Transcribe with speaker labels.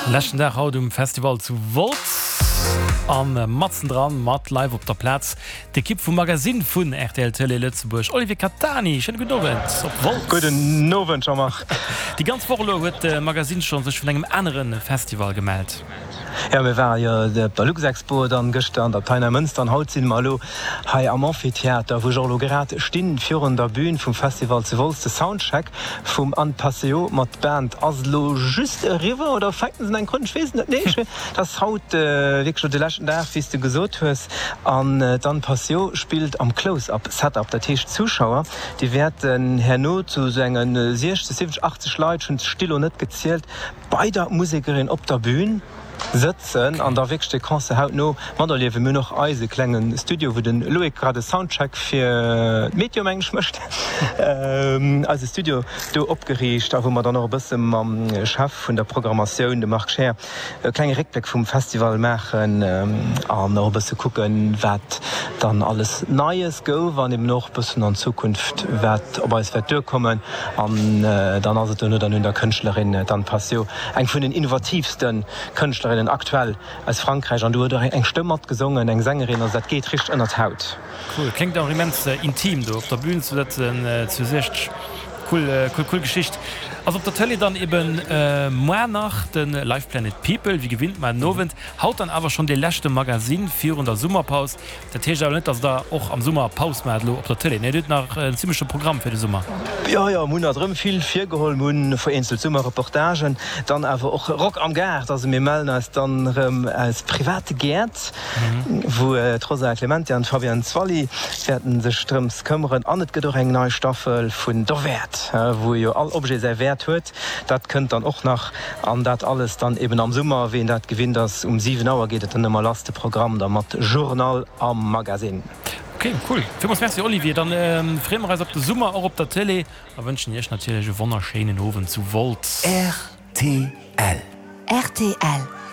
Speaker 1: Leschten Dag haut um Festival zu Wolz an matzen dran mat live op der Plaz d'Ekipp vum Magazine vun rtl Tëlee Lëtzebuerg. Olivier Catani, schéine gudden Owend op Wolz.
Speaker 2: Gudden Owend Jean-Marc.
Speaker 1: Déi ganz Woch elo huet de Magazine scho sech vun engem anere Festival gemellt.
Speaker 2: Jo, mir ware jo op der Luxexpo, dann gëschter an der Abtei Neimënster an haut sinn mer elo hei am Amphitheater, wou ech och elo grad stinn, virun der Bühn vum Festival zu Wolz. De Soundcheck vum Anne Passeo mat Band ass elo just eriwwer, oder fänken se eng Krunn, ech weess et net. Nee, ech, et ass haut wierklech elo de leschten Dag, wéi s de gesot hues. An d'Anne Passeo spillt am Close-Up Setup, dat heescht d'Zuschauer, déi wäerten herno zu esou enge 60, 70, 80 Leit, ech hunn d'Still elo net gezielt, bei der Musekerin op der Bühn sëtzen an da wierklech de Concert hautno materliewen. Mir hunn och eise klenge Studio, wou de Loïc grad e Soundcheck fir d'Meteo, mengen ech, mécht, eise Studio do opgeriicht a wou mer dann och e bësse mam Chef vun der Programmatioun, dem Marc Scheer, e klenge Réckbléck vum Festival maachen an och e bësse kucken, wat dann alles Neies gouf an eben och e bëssen an Zukunft, wat op eis wäert duerkommen. An dann ass et dono dann un der Kënschtlerin d'Anne Passio, eng vun den innovatiivste Kënschtlerinnen aktuell aus Frankräich. An do huet och eng Stëmm matgesongen, eng Sängerin. Also dat geet richteg ënner d'Haut.
Speaker 1: Cool, kléngt och immens intim do op der Bühn ze sëtzen zu 60. Cool, cool, cool Geschicht. Ass op der Tëlee dann eben moar nach de Live Planet People, wéi gewinnt mar den Owend. Haut dann awer schonn dee leschte Magazine virun der Summerpaus. Dat heescht awer net, dass der och am Summer Paus maacht elo op der Tëlee, nee? Dir hutt nach en zimmleche Programm fir de Summer.
Speaker 2: Jo, jo, mir hunn alt erëm vill virgeholl. Mir hunn vereenzelt Summerreportagen, dann awer och Rock am Gaart. Also mir mellen eis dann erëm aus private Gäert, wou d'Rosa Clementi an d'Fabienne Zwally wäerten sech drëms këmmeren. An et gëtt och eng nei Staffel vun Derwäert, wou jo all Objet säi Wäert huet. Dat kënnt dann och nach. An dat alles dann eben am Summer, wéi een dat gewinnt ass. Um 7 Auer geet et dann ëmmer lass, de Programm da mat Journal a Magazine.
Speaker 1: Ok, cool. Villmools Merci Olivier. Dann freeë mer eis op de Summer och op der Télé a wënschen iech natierlech e wonnerschéinen Owend zu Wolz.
Speaker 3: Rtl.
Speaker 4: Rtl.